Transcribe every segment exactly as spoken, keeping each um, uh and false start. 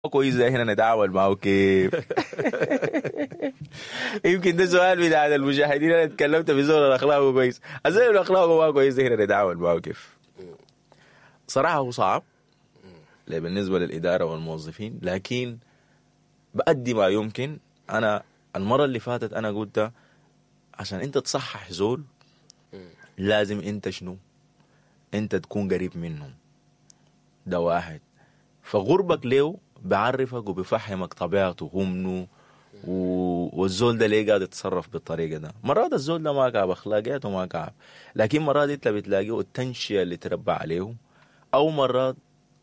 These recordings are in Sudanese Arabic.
كويس ده هنا نتعامل معه كيف؟ يمكن ده سؤال بتاع المشاهدين. انا اتكلمت في زول اخلاقه كويس، الزول اللي اخلاقه ما كويس ده هنا نتعامل معه كيف؟ صراحة هو صعب بالنسبة للادارة والموظفين، لكن بأدي ما يمكن. انا المرة اللي فاتت انا قلت عشان انت تصحح زول لازم انت شنو؟ انت تكون قريب منه، ده واحد. فغربك ليه بعرفك وبفهمك طبيعته هو منو والزول ده ليه قاعد يتصرف بالطريقة ده. مرات الزول ده ما كعب، اخلاقياته ما كعب، لكن مرات انت بتلاقيه التنشئه اللي تربى عليه، او مرات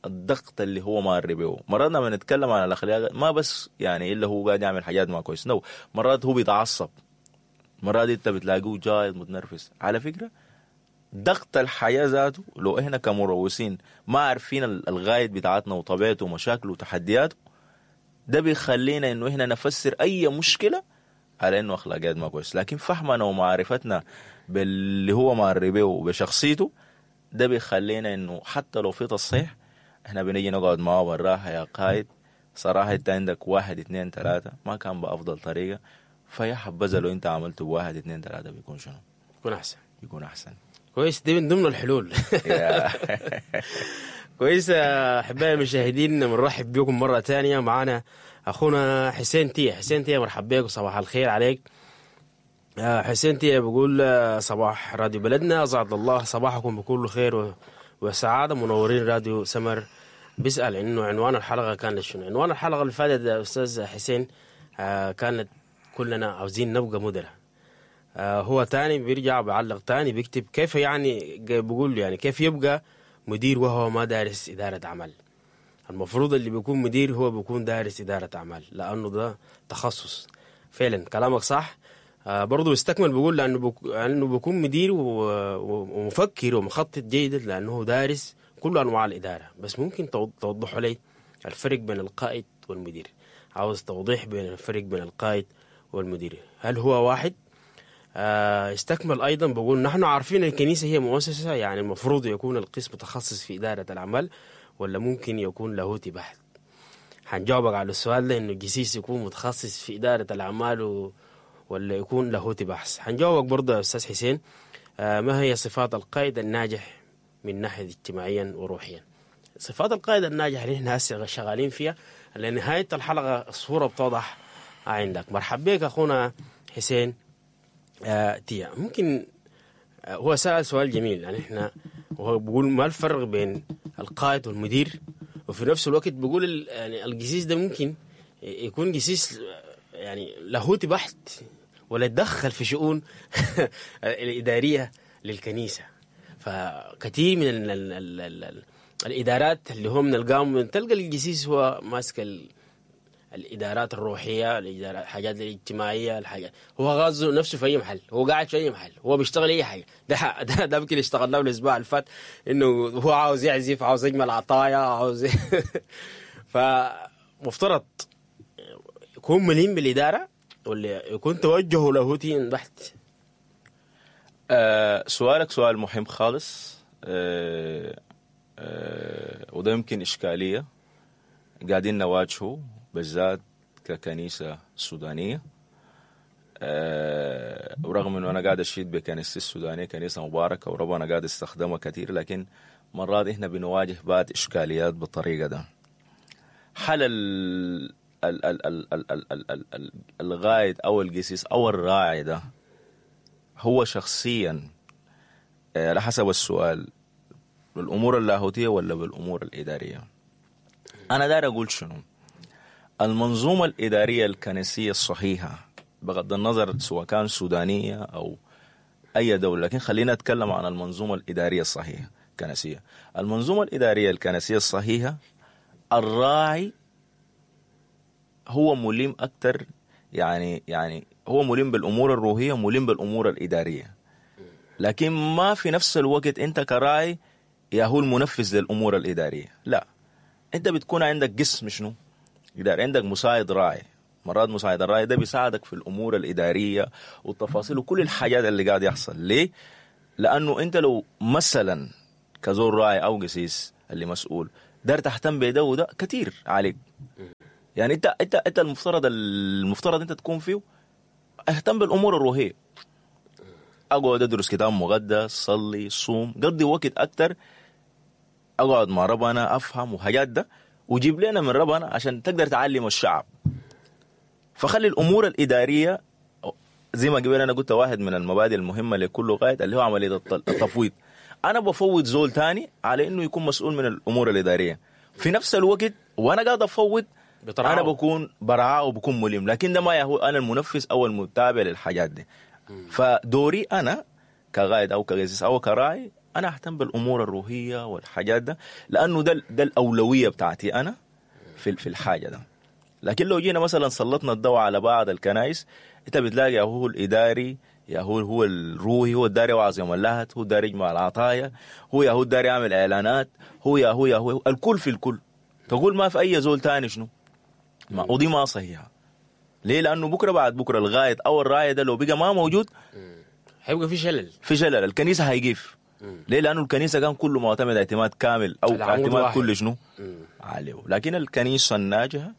الضغط اللي هو مار به. مرات لما نتكلم عن الاخلاق ما بس يعني الا هو قاعد يعمل حاجات ما كويس، no، مرات هو بيتعصب، مرات انت بتلاقيه جاي متنرفز. على فكرة ضغط الحياة ذاته لو احنا كمروسين ما عارفين الغاية بتاعتنا وطبيعته ومشاكله وتحدياته، ده بيخلينا انه احنا نفسر اي مشكلة على انه اخلاقيات ما كويس. لكن فهمنا ومعرفتنا باللي هو مار به وبشخصيته ده بيخلينا انه حتى لو في تصحيح احنا بنيجي نقعد معاه بالراحة. يا قائد صراحة انت عندك واحد اثنين ثلاثة ما كان بافضل طريقه، فيا حبذا لو انت عملته بواحد اثنين ثلاثة بيكون شنو؟ بيكون احسن، يكون احسن. كويس، دي من ضمن الحلول. كويس احبائي المشاهدين، بنرحب بكم مرة ثانية. معانا اخونا حسين تيه. حسين تيه مرحب بك وصباح الخير عليك. حسين تيه بيقول صباح راديو بلدنا، اسعد الله صباحكم بكل خير وسعادة، منورين راديو سمر. بيسال انه عنوان الحلقة كانت شنو؟ عنوان الحلقة اللي فاتت يا استاذ حسين كانت كلنا عاوزين نبقى مدراء. آه هو تاني بيرجع بعلق تاني بيكتب كيف يعني، بيقول يعني كيف يبقى مدير وهو ما دارس إدارة أعمال؟ المفروض اللي بيكون مدير هو بيكون دارس إدارة أعمال، لأنه ده تخصص. فعلا كلامك صح. آه برضو استكمل بيقول لأنه بك... لأنه بيكون مدير و... ومفكر ومخطط جيدا لأنه دارس كل أنواع الإدارة. بس ممكن توضحوا لي الفرق بين القائد والمدير؟ عاوز توضيح بين الفرق بين القائد والمدير، هل هو واحد؟ استكمل أيضا بقول نحن عارفين الكنيسة هي مؤسسة، يعني المفروض يكون القسم متخصص في إدارة الأعمال ولا ممكن يكون لاهوتي بحت؟ حنجاوبك على السؤال ده، إنه الجسيس يكون متخصص في إدارة الأعمال و... ولا يكون لاهوتي بحث. حنجاوبك برضه يا أستاذ حسين. آه ما هي صفات القائد الناجح من ناحية اجتماعيا وروحيا؟ صفات القائد الناجح اللي احنا هسه شغالين فيها لنهاية الحلقة الصورة بتوضح عندك. مرحب بك أخونا حسين آه تيا. ممكن آه هو سأل سؤال جميل، يعني احنا وهو بيقول ما الفرق بين القائد والمدير، وفي نفس الوقت بيقول يعني الجسيس ده ممكن يكون جسيس يعني لاهوتي بحت ولا يتدخل في شؤون الإدارية للكنيسة. فكثير من ال ال ال ال ال الإدارات اللي هو من القام تلقى الجسيس هو ماسك ال الادارات الروحية، الادارات الحاجات الاجتماعية، الحاجات هو غاز نفسه في اي محل، هو قاعد في اي محل، هو بيشتغل اي حاجة. ده ده ده يمكن اشتغلناه الاسبوع اللي فات، انه هو عاوز يعزف، عاوز يجمل عطايا، عاوز فمفترض يكون مليم بالادارة ولا يكون توجهه لاهوتي بحت؟ آه سؤالك سؤال مهم خالص، آه آه وده يمكن اشكالية قاعدين نواجهه بالذات ككنيسة سودانية. أه ورغم انه انا قاعد اشيد بكنيسة السودانية، كنيسة مباركة وربنا قاعد استخدمها كثير، لكن مرات احنا بنواجه بعض اشكاليات بالطريقة ده. حل ال ال ال ال ال ال ال ال ال الغايد او القسيس او الراعي ده هو شخصيا على حسب السؤال بالامور اللاهوتية ولا بالامور الادارية؟ انا داير اقول شنو؟ المنظومة الإدارية الكنسية الصحيحة بغض النظر سواء كان سودانية أو أي دولة، لكن خلينا نتكلم عن المنظومة الإدارية الصحيحة الكنسية. المنظومة الإدارية الكنسية الصحيحة الراعي هو ملم أكثر، يعني يعني هو ملم بالأمور الروحية، ملم بالأمور الإدارية، لكن ما في نفس الوقت أنت كراعي يا هو المنفذ للأمور الإدارية. لا، أنت بتكون عندك قسم شنو؟ إداري، عندك مساعد راعي. مرات مساعد الراعي ده بيساعدك في الأمور الإدارية والتفاصيل وكل الحاجات اللي قاعد يحصل. ليه؟ لأنه أنت لو مثلا كزور راعي أو قسيس اللي مسؤول دار تهتم بده وده كتير عليك. يعني انت انت انت المفترض المفترض انت تكون فيه اهتم بالامور الروحية، اقعد ادرس كتاب مقدس، صلي، صوم، قضي وقت اكتر، اقعد مع ربنا افهم وحاجات ده، وجيب لنا من ربنا عشان تقدر تعلم الشعب. فخلي الامور الادارية زي ما قبل انا قلت واحد من المبادئ المهمة لكل قائد اللي هو عملية التفويض. انا بفوض زول تاني على انه يكون مسؤول من الامور الادارية في نفس الوقت، وانا قاعد افوض بطرعه. انا بكون برعاه وبكون ملم، لكن ده ما هو انا المنفذ او المتابع للحاجات دي. فدوري انا كقائد او كقسيس او كراعي انا اهتم بالامور الروحية والحاجات ده، لانه ده ده الاولوية بتاعتي انا في في الحاجة ده. لكن لو جينا مثلا سلطنا الضوء على بعض الكنائس، انت بتلاقي يا هو الاداري، يا هو هو الروحي، هو الداري وعظ يوم اللهت، هو الداري يجمع العطايا، هو يا هو الداري يعمل اعلانات، هو يا هو يا هو الكل في الكل. تقول ما في اي زول تاني شنو؟ ما ودي ما صحيحه. ليه؟ لانه بكره بعد بكره الغاية او الراية ده لو بقى ما موجود هيبقى في شلل، في شلل، الكنيسة هيقف. ليه؟ لانه الكنيسة كان كله معتمد اعتماد كامل او اعتماد كل شنو عليه. لكن الكنيسة الناجحة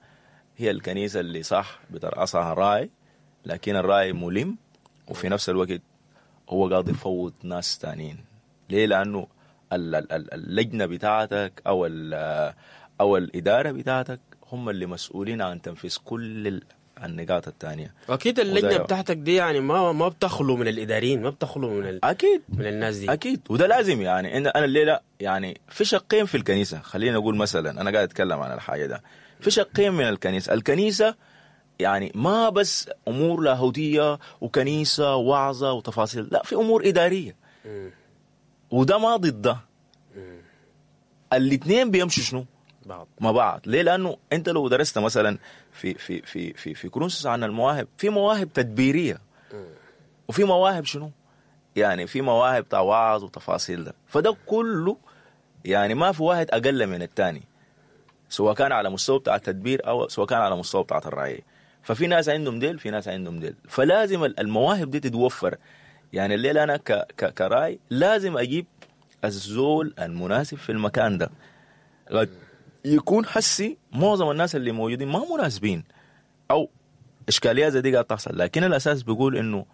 هي الكنيسة اللي صح بترأسها راعي، لكن الراعي ملم وفي نفس الوقت هو قاعد يفوض ناس تانيين. ليه؟ لانه اللجنة بتاعتك او او الادارة بتاعتك هم اللي مسؤولين عن تنفيذ كل النقاط الثانية. اكيد اللجنة بتاعتك دي يعني ما ما بتخلو من الاداريين، ما بتخلو من ال... اكيد من الناس دي، اكيد. وده لازم. يعني انا الليلة يعني في شقين في الكنيسة، خلينا نقول مثلا انا قاعد اتكلم عن الحاجة ده، في شقين من الكنيسة. الكنيسة يعني ما بس امور لاهوتيه وكنيسه وعظه وتفاصيل، لا، في امور ادارية. وده ما ضد ده، الاثنين بيمشوا شنو بعض مع بعض. ليه؟ لانه انت لو درست مثلا في في في في في كورنثوس عن المواهب، في مواهب تدبيريه وفي مواهب شنو؟ يعني في مواهب وعظ وتفاصيل ده. فده كله يعني ما في واحد اقل من الثاني، سواء كان على مستوى بتاع التدبير او سواء كان على مستوى بتاع الرعاية. ففي ناس عندهم ديل، في ناس عندهم ديل، فلازم المواهب دي تتوفر. يعني الليلة انا ك ك كراي لازم اجيب الزول المناسب في المكان ده. يكون حسي معظم الناس اللي موجودين ما مناسبين او اشكاليات زي دي قاعد تحصل، لكن الاساس بيقول انه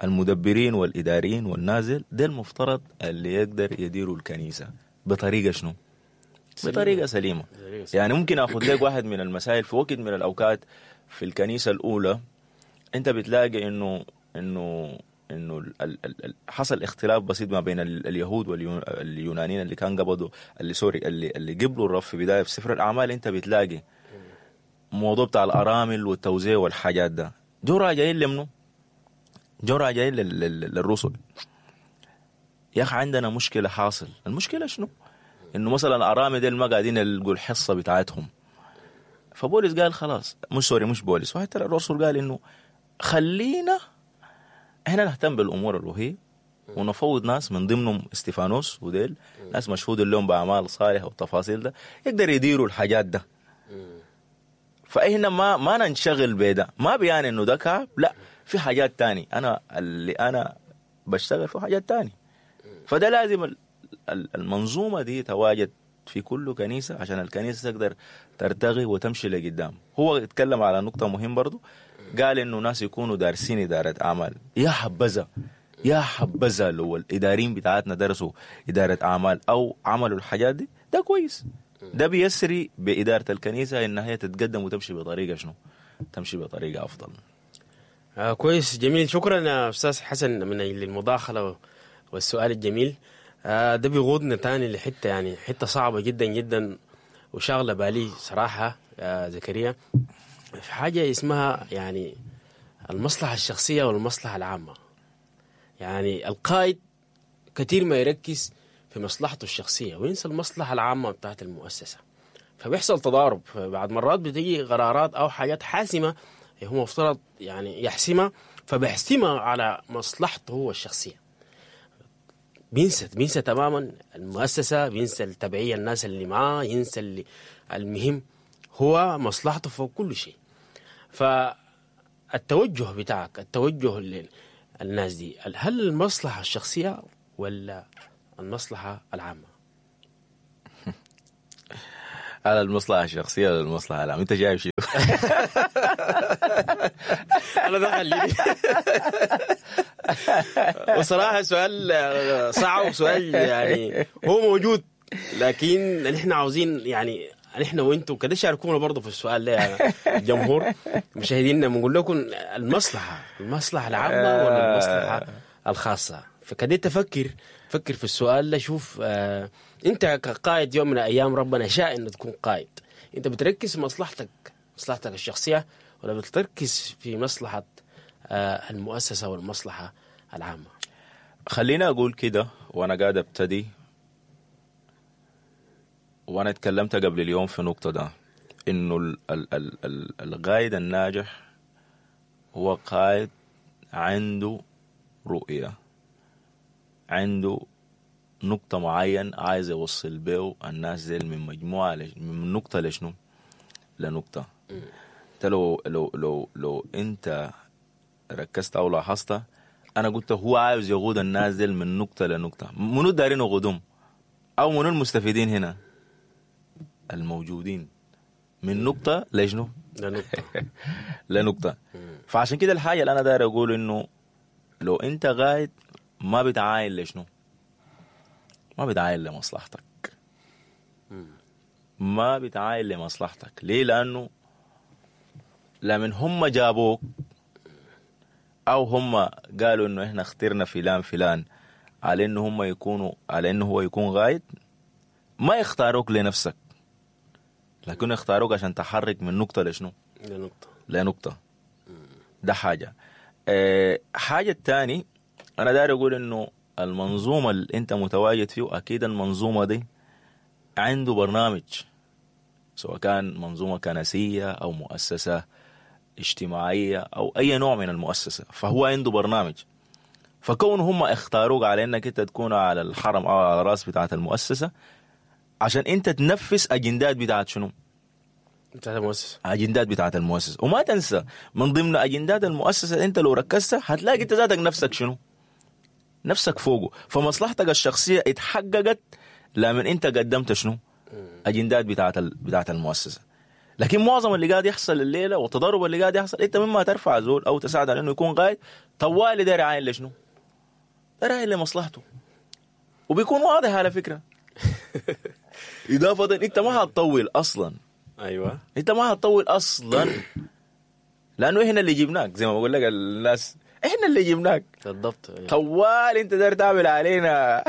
المدبرين والاداريين والنازل ده المفترض اللي يقدر يديروا الكنيسة بطريقة شنو؟ سليمة. بطريقة سليمة. يعني ممكن اخذ لك واحد من المسائل في وقت من الاوقات في الكنيسة الاولى، انت بتلاقي انه انه انه ال ال حصل اختلاف بسيط ما بين اليهود واليونانيين اللي كان قبضوا اللي سوري اللي اللي قبلوا الرب في بداية في سفر الاعمال. انت بتلاقي موضوع بتاع الارامل والتوزيع والحاجات ده، جو راجعين لمنو؟ جو راجعين للرسل. يا اخي عندنا مشكلة حاصل. المشكلة شنو؟ انه مثلا الارامل ديل ما قاعدين يلقوا الحصة بتاعتهم. فبولس قال خلاص، مش sorry مش بولس، وحتى الرسل قال انه خلينا احنا نهتم بالامور الروحية ونفوض ناس من ضمنهم استفانوس وديل ناس مشهود لهم باعمال صالحه والتفاصيل ده، يقدر يديروا الحاجات ده. فاحنا ما ما ننشغل بده، ما بيعني انه ده كعب، لا، في حاجات تاني انا اللي انا بشتغل في حاجات تاني. فده لازم المنظومة دي تواجد في كل كنيسة عشان الكنيسة تقدر ترتقي وتمشي لقدام. هو اتكلم على نقطة مهمة برضو، قال انه ناس يكونوا دارسين ادارة اعمال. يا حبذا يا حبذا لو الاداريين بتاعتنا درسوا ادارة اعمال او عملوا الحاجات دي، ده كويس. ده بيسري بادارة الكنيسة انها هي تتقدم وتمشي بطريقة شنو؟ تمشي بطريقة افضل. آه كويس، جميل. شكرا يا استاذ حسن من المداخلة والسؤال الجميل. آه ده بيقودنا تاني لحته يعني حتة صعبة جدا جدا وشاغله بالي صراحة يا زكريا، في حاجة اسمها يعني المصلحة الشخصية والمصلحة العامة. يعني القائد كثير ما يركز في مصلحته الشخصية وينسى المصلحة العامة بتاعت المؤسسة، فبيحصل تضارب. بعد مرات بتيجي قرارات أو حاجات حاسمة هو مفترض يعني يحسمها، فبيحسمها على مصلحته هو الشخصية. بينسى بينسى تماما المؤسسة، بينسى التبعية الناس اللي معاه، ينسى اللي المهم هو مصلحته فوق كل شيء. فالتوجه بتاعك، التوجه للناس دي، هل المصلحة الشخصية ولا المصلحة العامة؟ على المصلحة الشخصية ولا المصلحة العامة؟ انت شايف شنو؟ انا ده خليني. وصراحة سؤال صعب، وسؤال يعني هو موجود، لكن نحن عاوزين يعني نحن وانتم كده شاركونا برضه في السؤال ده يا جمهور مشاهدينا. بنقول لكم المصلحة المصلحة العامة ولا المصلحة الخاصة؟ فكده تفكر فكر في السؤال ده. شوف آه انت كقائد يوم من الايام ربنا شاء انه تكون قائد، انت بتركز في مصلحتك مصلحتك الشخصية ولا بتركز في مصلحة آه المؤسسة والمصلحة العامة؟ خلينا اقول كده وانا قاعد ابتدي، وانا اتكلمت قبل اليوم في نقطة ده، انه ال ال ال ال القائد الناجح هو قائد عنده رؤية، عنده نقطة معين عايز يوصل بيه الناس دي من مجموعة لش... من نقطة لشنو؟ لنقطة. انت لو لو لو لو انت ركزت او لاحظت، انا قلت هو عاوز يقود الناس دي من نقطة لنقطة. منو دارين يقودهم؟ او منو المستفيدين هنا؟ الموجودين من نقطة لشنو؟ لنقطة. لنقطة. فعشان كده الحاجة اللي انا داير اقول انه لو انت قاعد ما بتعاين لشنو؟ ما بتعاين لمصلحتك. ما بتعاين لمصلحتك. ليه؟ لأنه لمن هم جابوك أو هم قالوا إنه إحنا اخترنا فلان فلان على إنه هم يكونوا على إنه هو يكون غايد، ما يختاروك لنفسك، لكن يختاروك عشان تحرك من نقطة لشنو؟ لنقطة. لنقطة. ده حاجة. أه حاجة الثاني أنا داير أقول إنه المنظومة اللي أنت متواجد فيه أكيد المنظومة دي عنده برنامج، سواء كان منظومة كنسية أو مؤسسة اجتماعية أو أي نوع من المؤسسة، فهو عنده برنامج. فكون هم اختاروك على أنك أنت تكون على الحرم أو على الرأس بتاعة المؤسسة عشان أنت تنفذ أجندات بتاعة شنو؟ بتاعة المؤسسة. أجندات بتاعة المؤسسة. وما تنسى من ضمن أجندات المؤسسة أنت لو ركزت هتلاقي أنت ذاتك نفسك شنو؟ نفسك فوقه. فمصلحتك الشخصية اتحققت لمن انت قدمت شنو؟ اجندات بتاعت ال... بتاعت المؤسسة. لكن معظم اللي قاعد يحصل الليلة والتضارب اللي قاعد يحصل، انت مما ترفع زول او تساعد على انه يكون قائد، طوالي داير عاين لشنو؟ داير عاين لمصلحته، وبيكون واضح على فكرة. اضافه انت ما هتطول اصلا. ايوه انت ما هتطول اصلا، لانه احنا اللي جبناك، زي ما بقول لك الناس احنا اللي جبناك بالضبط. طوال انت داير تعمل علينا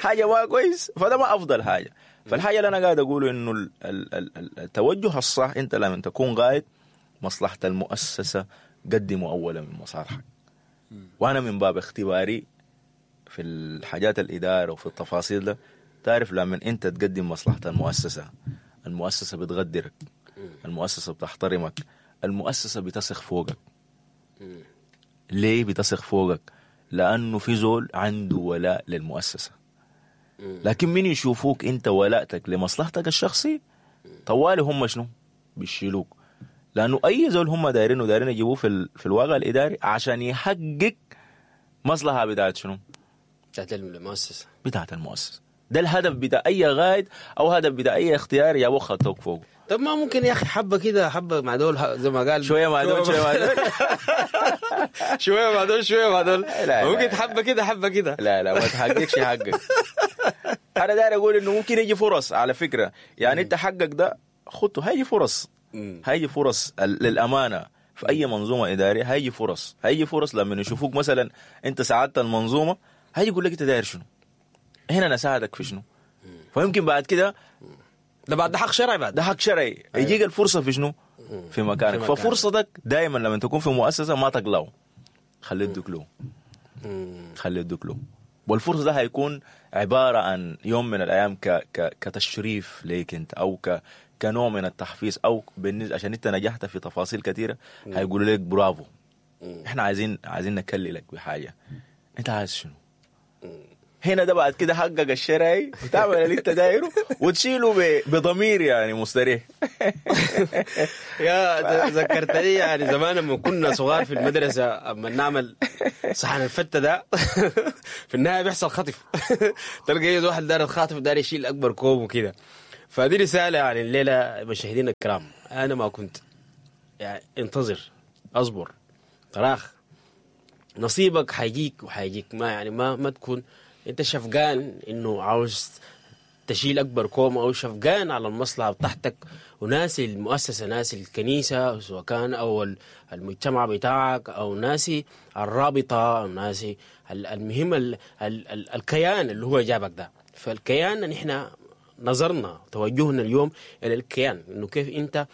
حاجة ما كويس، فده ما افضل حاجة. فالحاجه اللي انا قاعد اقوله انه التوجه الصح، انت لما تكون قائد مصلحة المؤسسة قدموا اولا من مصالحك. وانا من باب اختباري في الحاجات الادارة وفي التفاصيل ده، تعرف لما انت تقدم مصلحة المؤسسة، المؤسسة بتقدرك، المؤسسة بتحترمك، المؤسسة بتثق فوقك. ليه بتثق فوقك؟ لأنه في زول عنده ولاء للمؤسسة. لكن من يشوفوك أنت ولاءتك لمصلحتك الشخصي طوالي هم شنو؟ بيشيلوك. لأنه أي زول هم دايرينه دايرين يجيبوه في, ال... في الواقع الإداري عشان يحقق مصلحة بتاعت شنو؟ بتاعت المؤسسة. بتاعت المؤسسة. ده الهدف بتاع أي غايد أو هدف بتاع أي اختيار يا خطوك فوق. طب ما ممكن يا أخي حبة كده، حبة مع دول زي ما قال، شوية مع دول شوية مع دول شوية مع دول شوية مع دول، ممكن حبة كده حبة كده. لا لا ما تحققش حقك. أنا داير أقول إنه ممكن يجي فرص على فكرة، يعني أنت حقك ده خدته، هيجي فرص، هيجي فرص للأمانة في أي منظومة إدارية، هيجي فرص، هيجي فرص لما يشوفوك مثلا أنت ساعدت المنظومة، هيجي يقول لك أنت داير شنو؟ هنا أنا ساعدك في شنو؟ فيمكن بعد كده ده بعد ده حق شرعي، بعد ده حق شرعي. أيوة. يجيك الفرصة في شنو؟ في مكانك. في ففرصتك دائما لما تكون في مؤسسة ما تقلعه، خليه يدوك له، خليه يدوك له. والفرصة ده هيكون عبارة عن يوم من الايام ك ك كتشريف ليك انت، او ك كنوع من التحفيز، او بالنسبة عشان انت نجحت في تفاصيل كثيرة هيقولوا لك برافو، احنا عايزين عايزين نكللك بحاجة، انت عايز شنو؟ هنا ده بعد كده حقك الشرعي وتعمل اللي انت دايرة وتشيله ب- بضمير يعني مستريح. يا ذكرتني يعني زمان لما كنا صغار في المدرسة، اما نعمل صحن الفته ده في النهاية بيحصل خطف. تلقى يجي واحد دار الخاطف دار يشيل اكبر كوم وكده. فدي رسالة يعني الليلة مشاهدينا الكرام، انا ما كنت يعني انتظر، اصبر، تراخ، نصيبك حيجيك وحيجيك. ما يعني ما ما تكون انت شفقان انه عاوز تشيل اكبر كوم او شفقان على المصلحة بتاعتك وناسي المؤسسة، ناسي الكنيسة سواء كان او المجتمع بتاعك او ناسي الرابطة او ناسي المهم ال ال ال الكيان اللي هو جابك ده. فالكيان نحن نظرنا توجهنا اليوم الى الكيان، انه كيف انت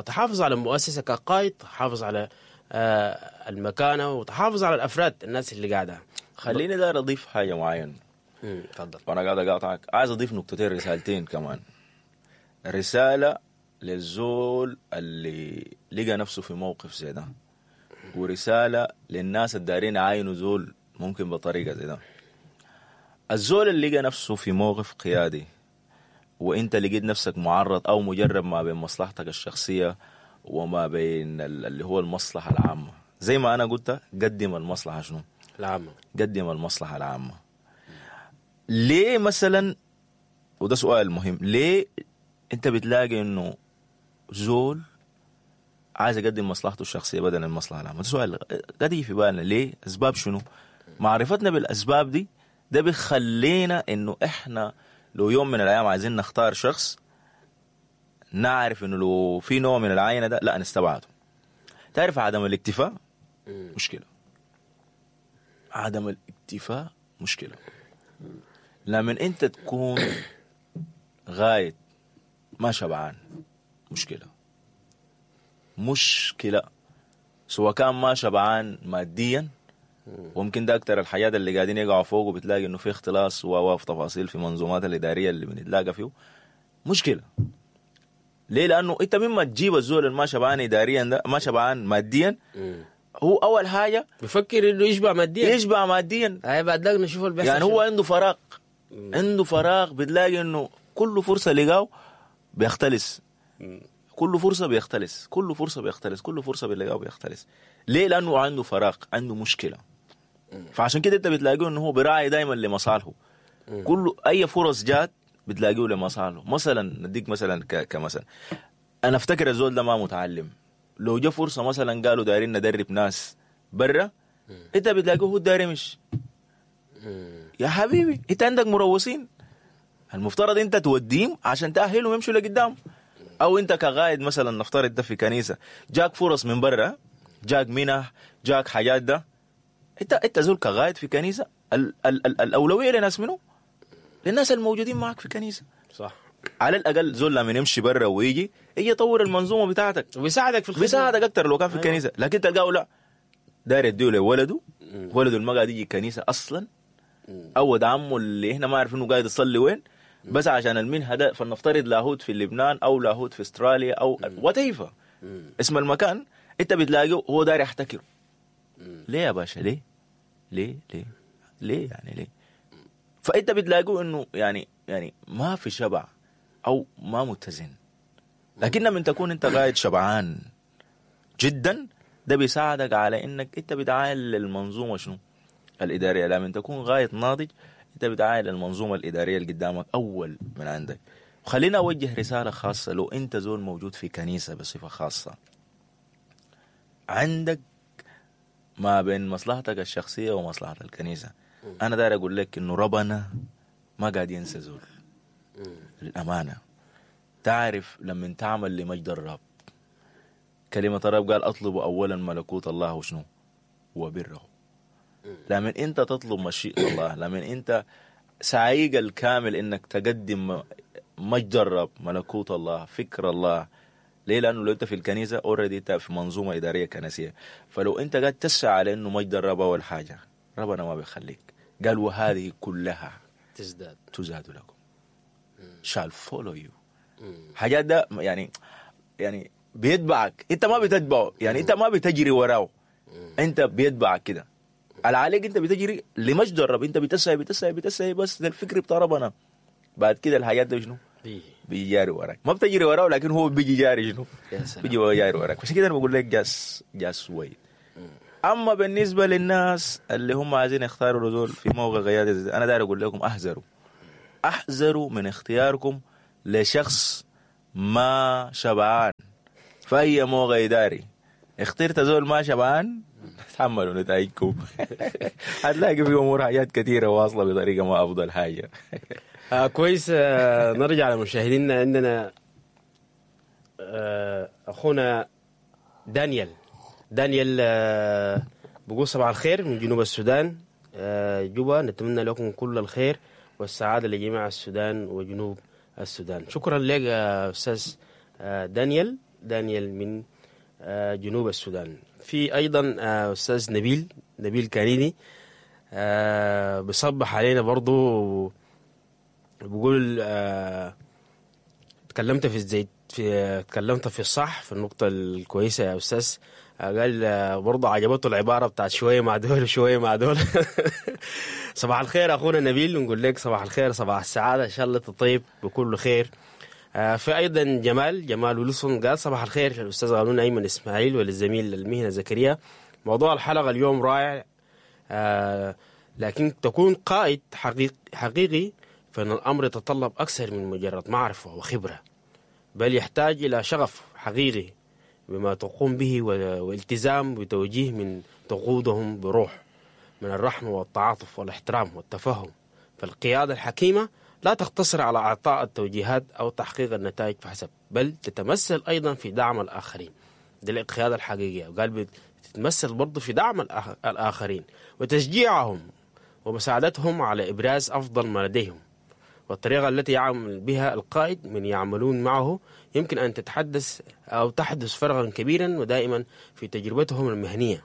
تحافظ على المؤسسة كقائد، تحافظ على المكانة وتحافظ على الافراد الناس اللي قاعدة. خليني داير اضيف حاجة معينة. تفضل. وانا قاعد اقاطعك، عايز اضيف نقطتين، رسالتين كمان. رسالة للزول اللي لقى نفسه في موقف زي ده، ورسالة للناس الدارين يعاينوا زول ممكن بطريقة زي ده. الزول اللي لقى نفسه في موقف قيادي وانت لقيت نفسك معرض او مجرب ما بين مصلحتك الشخصية وما بين اللي هو المصلحة العامة، زي ما انا قلت قدم المصلحة شنو؟ العامة. قدم المصلحة العامة. ليه مثلا، وده سؤال مهم، ليه انت بتلاقي انه زول عايز يقدم مصلحته الشخصية بدل المصلحة العامة؟ ده سؤال قد يجي في بالنا، ليه؟ اسباب شنو؟ معرفتنا بالاسباب دي ده بيخلينا انه احنا لو يوم من الايام عايزين نختار شخص نعرف انه لو في نوع من العينة ده لا نستبعده. تعرف عدم الاكتفاء مشكلة، عدم الاكتفاء مشكلة. لما انت تكون غاية ما شبعان مشكلة، مشكلة سواء كان ما شبعان ماديا، وممكن ده اكتر الحاجات اللي قاعدين يقعوا فوق وبتلاقي انه في اختلاس وفي تفاصيل في منظومات الادارية اللي بنتلاقى فيه مشكلة. ليه؟ لانه انت مما تجيب الزول اللي ما شبعان اداريا ده، ما شبعان ماديا، هو اول حاجة بفكر انه يشبع ماديا، يشبع ماديا. اي بعد ذاك نشوف اللي بيحصل. يعني هو عنده فراغ، عنده فراغ، بتلاقي انه كل فرصة لقاه بيختلس، كل فرصة بيختلس، كل فرصة بيختلس، كل فرصة بيلاقاه بيختلس. ليه؟ لانه عنده فراغ، عنده مشكلة. فعشان كده انت بتلاقيه انه هو براعي دايما لمصالحه، كل اي فرص جات بتلاقيه لمصالحه. مثلا نديك مثلا كمثلا، انا افتكر الزول ده ما متعلم، لو جا فرصة مثلا قالوا دايرين ندرب ناس برا، انت بتلاقيه هو داير يمشي. يا حبيبي انت عندك مروسين، المفترض انت توديهم عشان تاهلهم يمشوا لقدام. او انت كغايد مثلا نفترض ده في كنيسة جاك فرص من برا، جاك منح، جاك حاجات ده، انت انت زول كغايد في كنيسة ال ال ال الاولوية لناس منو؟ للناس الموجودين معك في كنيسة. صح. على الاقل زول لما يمشي برا ويجي يجي يطور المنظومة بتاعتك وبيساعدك في الخدمة، بيساعدك اكثر لو كان في الكنيسة. لكن تلقاه لا داير يديه لولده، ولده ما قاعد يجي الكنيسة اصلا، او ولد عمه اللي احنا ما عارفين انه قاعد يصلي وين، بس عشان المنهى ده. فلنفترض لاهوت في لبنان او لاهوت في استراليا او whatever اسم المكان، انت بتلاقيه هو داير يحتكره. ليه يا باشا؟ ليه؟ ليه؟ ليه؟ ليه يعني ليه؟ فانت بتلاقيه انه يعني يعني ما في شبع او ما متزن. لكن لما تكون انت قاعد شبعان جدا ده بيساعدك على انك انت بتعاين للمنظومة شنو؟ الادارية. لما تكون غاية ناضج انت بتعاين للمنظومة الادارية اللي قدامك اول من عندك. وخلينا اوجه رسالة خاصة، لو انت زول موجود في كنيسة بصفة خاصة، عندك ما بين مصلحتك الشخصية ومصلحه الكنيسة، انا داير اقول لك انه ربنا ما قاعد ينسى زول. للامانة تعرف لما تعمل لمجد الرب، كلمة الرب قال اطلبوا اولا ملكوت الله وشنو؟ وبره. لما انت تطلب مشيئة الله، لما انت سعيك الكامل انك تقدم مجد الرب، ملكوت الله، فكر الله. ليه؟ لانه لو انت في الكنيسة already انت في منظومة ادارية كنسية، فلو انت قاعد تسعى على انه مجد الرب اول حاجة، ربنا ما بيخليك. قال وهذه كلها تزداد تزاد لكم، shall follow you. حاجات ده يعني يعني بيتبعك، انت ما بتتبعه، يعني انت ما بتجري وراه، انت بيتبعك كده. اللي عليك انت بتجري لمجد الرب، انت بتسعي بتسعي بتسعي بس للفكر بتاع ربنا. بعد كده الحاجات دي شنو؟ بيجي جاري وراك، ما بتجري وراه لكن هو بيجي جاري شنو؟ بيجي جاري وراك. عشان كده انا بقول لك just just wait. اما بالنسبة للناس اللي هم عايزين يختاروا زول في موقع قيادة، انا داير اقول لكم احذروا، احذروا من اختياركم لشخص ما شبعان في اي موقع اداري. اخترت زول ما شبعان تحملوا نتائجكم. هتلاقي في امور حاجات كثيرة واصله بطريقة ما افضل حاجة. آه كويس. آه نرجع لمشاهدينا. عندنا آه اخونا دانيال. دانيال آه بقول صباح الخير من جنوب السودان، آه جوبا. نتمنى لكم كل الخير والسعادة لجميع السودان وجنوب السودان. شكرا لك يا استاذ آه دانيال. دانيال من آه جنوب السودان. في ايضا آه استاذ نبيل، نبيل كانيني، آه بصبح علينا برضو، بقول آه تكلمت في الزيت، في تكلمت في الصح في النقطة الكويسة يا أستاذ. آه قال آه برضه عجبته العبارة بتاعت شوية مع دول وشوية مع دول. صباح الخير أخونا نبيل، نقول لك صباح الخير، صباح السعادة، إن شاء الله تطيب بكل خير. آه في أيضا جمال، جمال ويلسون قال صباح الخير الأستاذ غانون أيمن إسماعيل وللزميل المهنة زكريا. موضوع الحلقة اليوم رائع، آه لكن تكون قائد حقيقي, حقيقي فإن الأمر يتطلب أكثر من مجرد معرفة وخبرة، بل يحتاج إلى شغف حقيقي بما تقوم به والتزام بتوجيه من تقودهم بروح من الرحمة والتعاطف والاحترام والتفهم. فالقيادة الحكيمة لا تقتصر على إعطاء التوجيهات أو تحقيق النتائج فحسب، بل تتمثل أيضا في دعم الآخرين. دي القيادة الحقيقية. وقال بتتمثل برضو في دعم الآخرين وتشجيعهم ومساعدتهم على إبراز أفضل ما لديهم. والطريقة التي يعمل بها القائد من يعملون معه يمكن أن تتحدث أو تحدث فرقا كبيرا ودائما في تجربتهم المهنية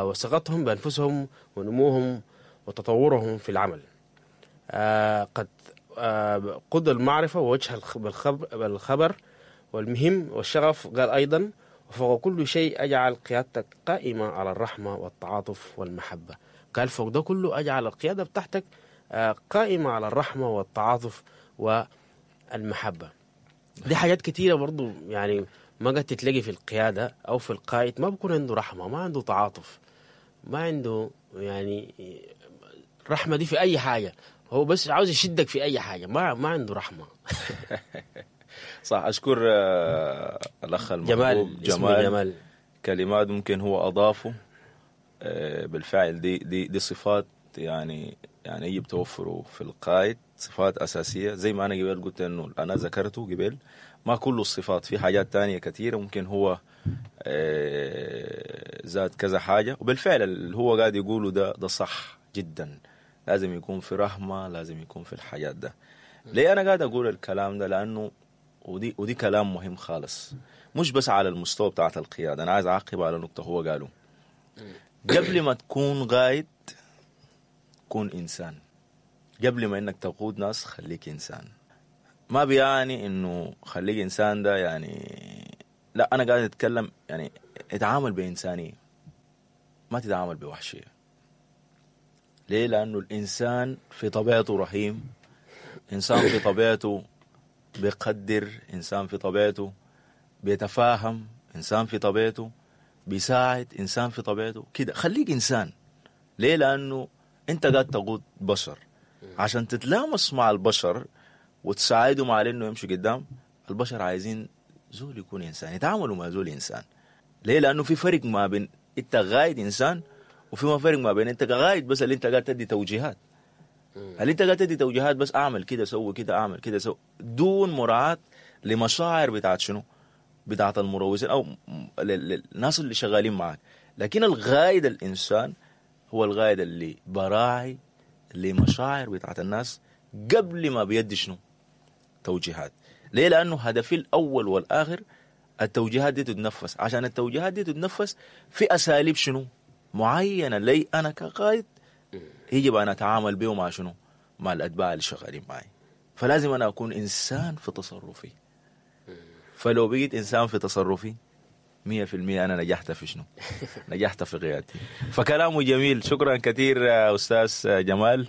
وثقتهم بأنفسهم ونموهم وتطورهم في العمل. قد قد المعرفة ووجه بالخبر والمهم والشغف. قال أيضا وفوق كل شيء أجعل قيادتك قائمة على الرحمة والتعاطف والمحبة. قال فوق ده كله أجعل القيادة بتاعتك قائمة على الرحمة والتعاطف والمحبة. دي حاجات كتيرة برضو يعني ما قد تتلاقي في القيادة أو في القائد. ما بكون عنده رحمة، ما عنده تعاطف، ما عنده يعني رحمة دي في أي حاجة. هو بس عاوز يشدك في أي حاجة، ما ما عنده رحمة. صح. أشكر الأخ المحبوب جمال. جمال, جمال. كلمات ممكن هو أضافه بالفعل. دي دي دي صفات يعني يعني يجب توفره في القائد، صفات أساسية زي ما أنا قبل قلت إنه أنا ذكرته قبل. ما كل الصفات، في حاجات تانية كثيرة ممكن هو زاد كذا حاجة، وبالفعل اللي هو قاعد يقوله ده ده صح جدا. لازم يكون في رحمة، لازم يكون في الحاجات ده. ليه أنا قاعد أقول الكلام ده؟ لأنه ودي ودي كلام مهم خالص، مش بس على المستوى بتاعت القيادة. أنا عايز أعقب على نقطة هو قاله. قبل ما تكون قائد كون إنسان. قبل ما إنك تقود ناس خليك إنسان. ما بيعني إنه خليك إنسان ده يعني لا، أنا قاعد أتكلم يعني اتعامل بإنسانية، ما تتعامل بوحشية. ليه؟ لأنه الإنسان في طبيعته رحيم، إنسان في طبيعته بيقدر، إنسان في طبيعته بيتفاهم، إنسان في طبيعته بيساعد، إنسان في طبيعته كده. خليك إنسان. ليه؟ لأنه أنت قاعد تقود بشر، عشان تتلامس مع البشر وتساعدهم على إنه يمشوا قدام. البشر عايزين زول يكون إنسان، يتعاملوا مع زول إنسان. ليه؟ لأنه في فرق ما بين أنت قائد إنسان، وفي ما فرق ما بين أنت قائد بس اللي أنت قاعد تدي توجيهات. اللي أنت قاعد تدي توجيهات بس أعمل كده سوي كده أعمل كده سوي، دون مراعاة لمشاعر بتاعت شنو؟ بتاعت المروجين أو الناس اللي شغالين معك. لكن الغايد الإنسان هو الغايد اللي براعي لمشاعر بتاعت الناس قبل ما بيدي شنو؟ توجيهات. ليه؟ لأنه هدفي الأول والآخر التوجيهات دي تتنفس. عشان التوجيهات دي تتنفس في أساليب شنو؟ معينة لي أنا كقائد يجب أن أتعامل به مع شنو؟ مع الأتباع اللي شغالين معي. فلازم أنا أكون إنسان في تصرفي. فلو بقيت إنسان في تصرفي مية في المية انا نجحت في شنو؟ نجحت في قيادتي. فكلامه جميل. شكرا كثير يا استاذ جمال،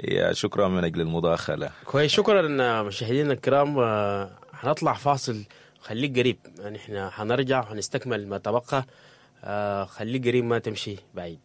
يا شكرا من اجل المداخله. كويس، شكرا مشاهدينا الكرام. آه، حنطلع فاصل، خليك قريب، نحن حنرجع وحنستكمل ما تبقى. آه، خليك قريب، ما تمشي بعيد.